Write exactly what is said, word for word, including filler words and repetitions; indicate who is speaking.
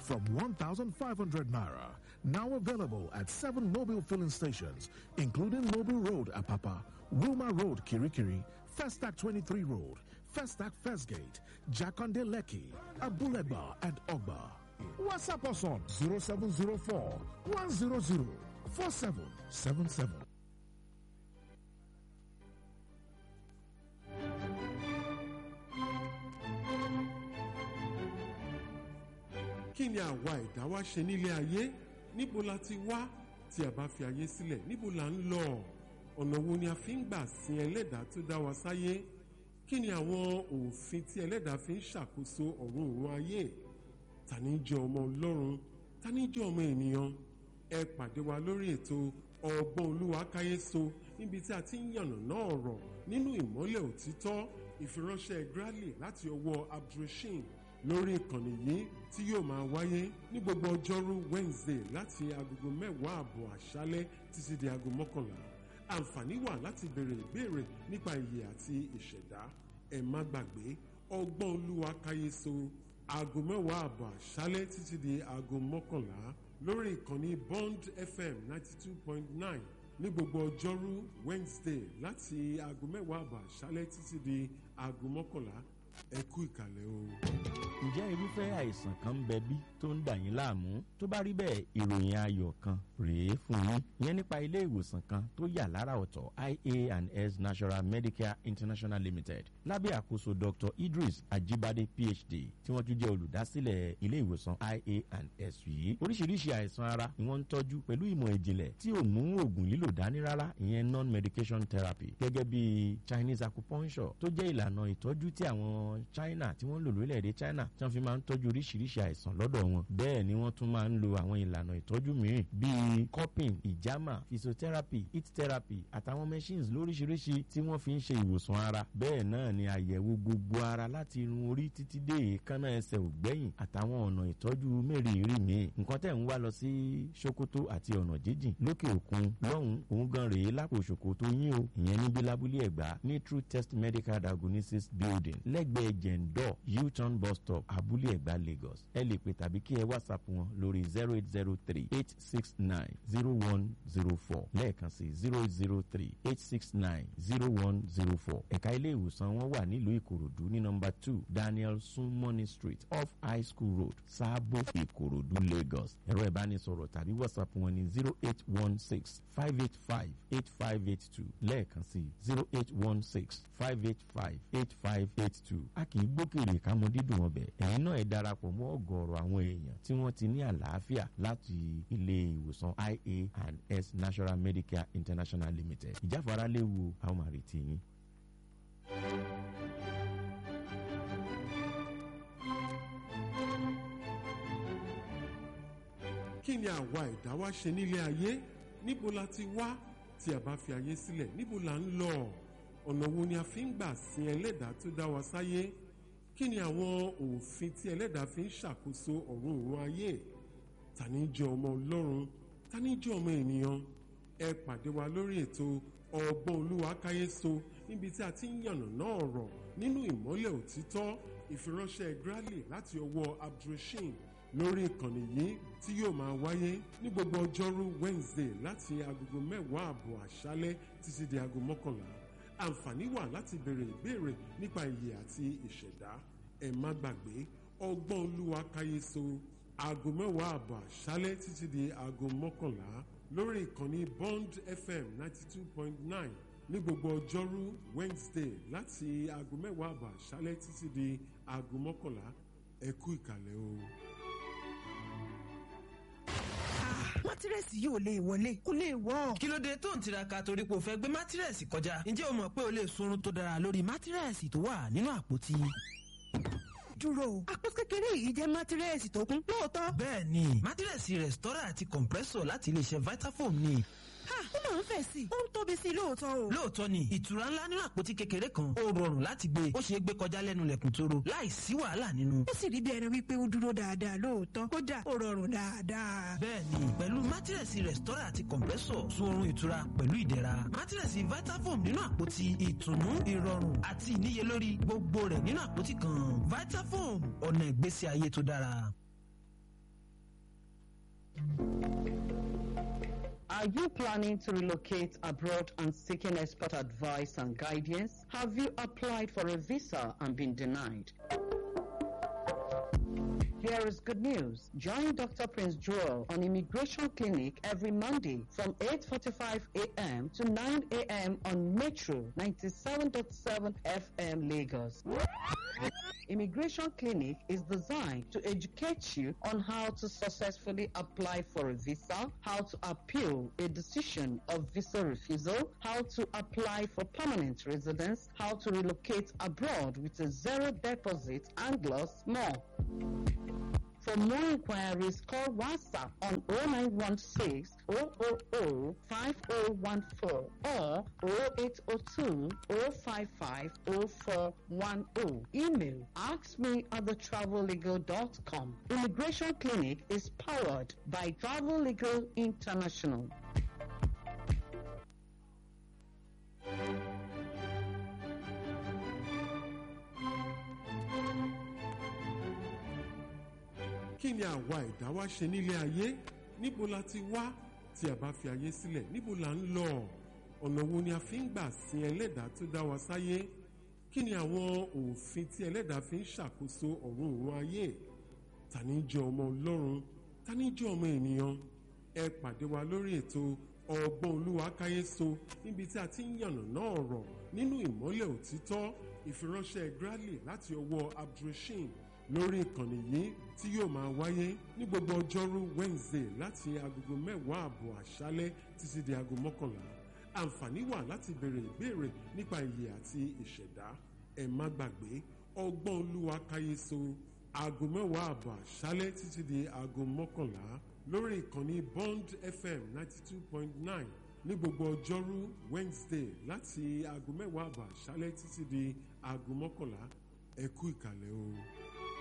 Speaker 1: from one thousand five hundred naira. Now available at seven Mobil filling stations, including Mobil Road, Apapa, Wilma Road, Kirikiri, Festac twenty-three Road, Festac First Gate, Jakonde Lekki, Abuleba, and Ogba. WhatsApp us on zero seven zero four one zero zero four seven seven seven.
Speaker 2: Kí ni àwa ẹ̀dá wa ṣe nílé ayé? Níbo la ti wá? Tí a bá fi ayé sílẹ̀, níbo la ń lọ? Ọ̀nà wo ni a fi ń gbà sin ẹlẹ́dàá tó dá wa sáyé? Kí ni àwọn òfin tí ẹlẹ́dàá fi ń ṣàkóso ọ̀run òun ayé? Ta ni jẹ́ ọmọ Ọlọ́run? Ta ni jẹ́ ọmọ ènìyàn? Ẹ pàdé wa lórí ètò Ọgbọ́n Olúwa Káyéso, níbi tí a ti ń yànnàná ọ̀rọ̀ nínú ìmọ́lẹ̀ òtítọ́. Ìfiránṣẹ́ Grally láti ọwọ́ Abdulrasheed lórí ìkànnì yìí tí yóò máa wáyé ní gbogbo ọjọ́rú Wednesday láti agogo mẹ́wàá àbọ̀ àṣálẹ́ títí di aago mọ́kànlá. Àǹfààní wà láti béèrè ìbéèrè nípa ìyè àti ìṣẹ̀dá. Ẹ má gbàgbé, Ọgbọ́n Olúwa Káyéso, aago mẹ́wàá àbọ̀ àṣálẹ́ títí di aago mọ́kànlá lórí ìkànnì Bond F M ninety two point nine ní gbogbo ọjọ́rú Wednesday láti aago mẹ́wàá àbọ̀ àṣálẹ́ títí di aago mọ́kànlá. Ẹ kú ìkàlẹ̀ o.
Speaker 3: Ǹjẹ́ irúfẹ́ àìsàn kan ń bẹ bí tó ń dà yín láàmú? Tó bá rí bẹ́ẹ̀, ìròyìn ayọ̀ kan rèé fún yín. Ìyẹn nípa ilé ìwòsàn kan tó yà lára ọ̀tọ̀, I A and S National Medicare International Limited, lábẹ́ àkóso Doctor Idris Ajibade P H D, tí wọ́n tún jẹ́ olùdásílẹ̀ ilé ìwòsàn I A and S yìí. Oríṣiríṣi àìsàn ara ni wọ́n ń tọ́jú pẹ̀lú ìmọ̀ ìjìnlẹ̀ tí ò mú oògùn lílò dání rárá, ìyẹn non-medication therapy, gẹ́gẹ́ bí Chinese acupuncture, tó jẹ́ ìlànà ìtọ́jú tí àwọn China tí wọ́n ń lò lórílẹ̀‐èdè China, tí wọ́n fi máa ń tọ́jú oríṣiríṣi àìsàn lọ́dọ̀ wọn. Bẹ́ẹ̀ ni wọ́n tún máa ń lo àwọn ìlànà ìtọ́jú mìíràn bíi cupping, ìjàmà, physiotherapy, heat therapy àtàwọn machines lóríṣiríṣi tí wọ́n fi ń ṣe ìwòsàn ara. Bẹ́ẹ̀ náà ni àyẹ̀wò gbogbo ara láti irun orí títí dé èékánná ẹsẹ̀ ògbẹ́yìn, àtàwọn ọ̀nà ìtọ́jú mẹ́rìírí míì. Nǹkan tẹ̀ ń wá lọ sí Sokoto àti ọ̀nà jíjìn lókè òkun lọ́hùn, òun gan rèé lápò Sokoto yín o. Ìyẹn níbi lábúlé Ẹ̀gbá ní True Test Medical Diagnosis Building, lẹ́gbẹ̀ẹ́ Jẹ̀ǹdọ̀ U-turn bus stop, Abúlé Ẹ̀gbá, Lagos. Ẹ lè pè tàbí kí ẹ WhatsApp wọn lórí zero eight zero three eight six nine zero one zero four. Lẹ́ẹ̀kan sí, zero eight zero three eight six nine zero one zero four. Ẹ̀ka ilé ìwòsàn wọn wà nílùú Ìkòròdú ní nọ́mbà two Daniel Sunmoney Street, off High School Road, Sáàbò, Ìkòròdú, Lagos. Ẹ̀rọ ìbánisọ̀rọ̀ tàbí WhatsApp wọn ní zero eight one six five eight five eight five eight two. Lẹ́ẹ̀kan sí, zero eight one six five eight five eight five eight two. A kì í gbókèrè ká mọ dídùn ọbẹ̀. Ẹ̀yin náà ẹ darapọ̀ mọ́ ọ̀gọ̀ọ̀rọ̀ àwọn èèyàn tí wọ́n ti ní àlàáfíà láti ilé ìwòsàn I A and S National Medicare International Limited. Ìjáfara léwu, àwọn máa retí yín.
Speaker 2: Kí ni àwa ẹ̀dá wa ṣe nílé ayé? Níbo la ti wá? Tí a bá fi ayé sílẹ̀, níbo la ń lọ? Ọ̀nà wo ni a fi ń gbà sin ẹlẹ́dàá tó dá wa sáyé? Kí ni àwọn òfin tí ẹlẹ́dàá fi ń ṣàkóso ọ̀run òun ayé? Ta ni jẹ́ ọmọ Ọlọ́run? Ta ni jẹ́ ọmọ ènìyàn? Ẹ pàdé wa lórí ètò Ọgbọ́n Olúwa Káyéso, níbi tí a ti ń yànnàná ọ̀rọ̀ nínú ìmọ́lẹ̀ òtítọ́. Ìfiránṣẹ́ Grally láti ọwọ́ Abdulrasheed lórí ìkànnì yìí tí yóò máa wáyé ní gbogbo ọjọ́rú Wednesday láti agogo mẹ́wàá àbọ̀ àṣálẹ́ títí di aago mọ́kànlá. Àǹfààní wà láti béèrè ìbéèrè nípa ìyè àti ìṣẹ̀dá. Ẹ má gbàgbé, Ọgbọ́n Olúwa Káyéso, aago mẹ́wàá àbọ̀ àṣálẹ́ títí di aago mọ́kànlá lórí ìkànnì Bond F M ninety two point nine ní gbogbo ọjọ́rú Wednesday láti aago mẹ́wàá àbọ̀ àṣálẹ́ títí di aago mọ́kànlá. Ẹ kú ìkàlẹ̀ o.
Speaker 4: Mátírẹ́sì yìí ò lè wọlé, kò lè wọ́.
Speaker 5: Kí ló dé tó ń tiraka torí pé o fẹ́ gbé mátírẹ́sì kọjá? Ǹjẹ́ o mọ̀ pé o lè sunrun tó dára lórí mátírẹ́sì tó wà nínú àpótí?
Speaker 4: Dúró, àpò kékeré yìí jẹ́ mátírẹ́sì tó kún lóòótọ́.
Speaker 5: Bẹ́ẹ̀ ni, mátírẹ́sì Restore àti compressor láti iléeṣẹ́ Vitafoam ni.
Speaker 4: Ha, ó máa ń fẹ̀ sí i, ó ń tóbi sí i lóòótọ́ o.
Speaker 5: Lóòótọ́ ni, ìtura ńlá nínú àpótí kékeré kan. Ó rọrùn láti gbé, ó ṣeé gbé kọjá lẹ́nu lẹ̀kùn tóró láì sí wàhálà nínú.
Speaker 4: Ó sì rí bí ẹni wípé ó dúró dáadáa lóòótọ́. Kódà ó rọrùn dáadáa.
Speaker 5: Bẹ́ẹ̀ ni, pẹ̀lú mátírẹ̀sì Restore àti compressor, sun oorun ìtura pẹ̀lú ìdẹ̀ra. Mátírẹ̀sì Vitafoam nínú àpótí, ìtùnú, ìrọ̀rùn àti ìníyelórí, gbogbo rẹ̀ nínú àpótí kan. Vitafoam, ọ̀nà ìgbésí ayé tó dára.
Speaker 6: Are you planning to relocate abroad and seeking expert advice and guidance? Have you applied for a visa and been denied? Here is good news. Join Doctor Prince Joel on Immigration Clinic every Monday from eight forty-five a m to nine a m on Metro ninety-seven point seven F M Lagos. Immigration Clinic is designed to educate you on how to successfully apply for a visa, how to appeal a decision of visa refusal, how to apply for permanent residence, how to relocate abroad with a zero deposit, and lots more. For more inquiries, call WhatsApp on oh nine one six, oh oh oh, five oh one four or oh eight oh two, oh five five, oh four one oh. Email ask me at the travel legal dot com. Immigration Clinic is powered by Travel Legal International.
Speaker 2: Kí ni àwa ẹ̀dá wa ṣe nílé ayé? Níbo la ti wá? Tí a bá fi ayé sílẹ̀, níbo la ń lọ? Ọ̀nà wo ni a fi ń gbà sin ẹlẹ́dàá tó dá wa sáyé? Kí ni àwọn òfin tí ẹlẹ́dàá fi ń ṣàkóso ọ̀run òun ayé? Ta ni jẹ́ ọmọ Ọlọ́run? Ta ni jẹ́ ọmọ ènìyàn? Ẹ pàdé wa lórí ètò Ọgbọ́n Olúwa Káyéso, níbi tí a ti ń yànnàná ọ̀rọ̀ nínú ìmọ́lẹ̀ òtítọ́. Ìfiránṣẹ́ Bradley láti ọwọ́ Abdulrasheed lórí ìkànnì yìí tí yóò máa wáyé ní gbogbo ọjọ́rú Wednesday láti agogo mẹ́wàá àbọ̀ àṣálẹ́ títí di aago mọ́kànlá. Àǹfààní wà láti béèrè ìbéèrè nípa ìyè àti ìṣẹ̀dá. Ẹ má gbàgbé, Ọgbọ́n Olúwa Káyéso, aago mẹ́wàá àbọ̀ àṣálẹ́ títí di aago mọ́kànlá lórí ìkànnì Bond F M ninety two point nine ní gbogbo ọjọ́rú Wednesday láti aago mẹ́wàá àbọ̀ àṣálẹ́ títí di aago mọ́kànlá. Ẹ kú ìkàlẹ̀ o.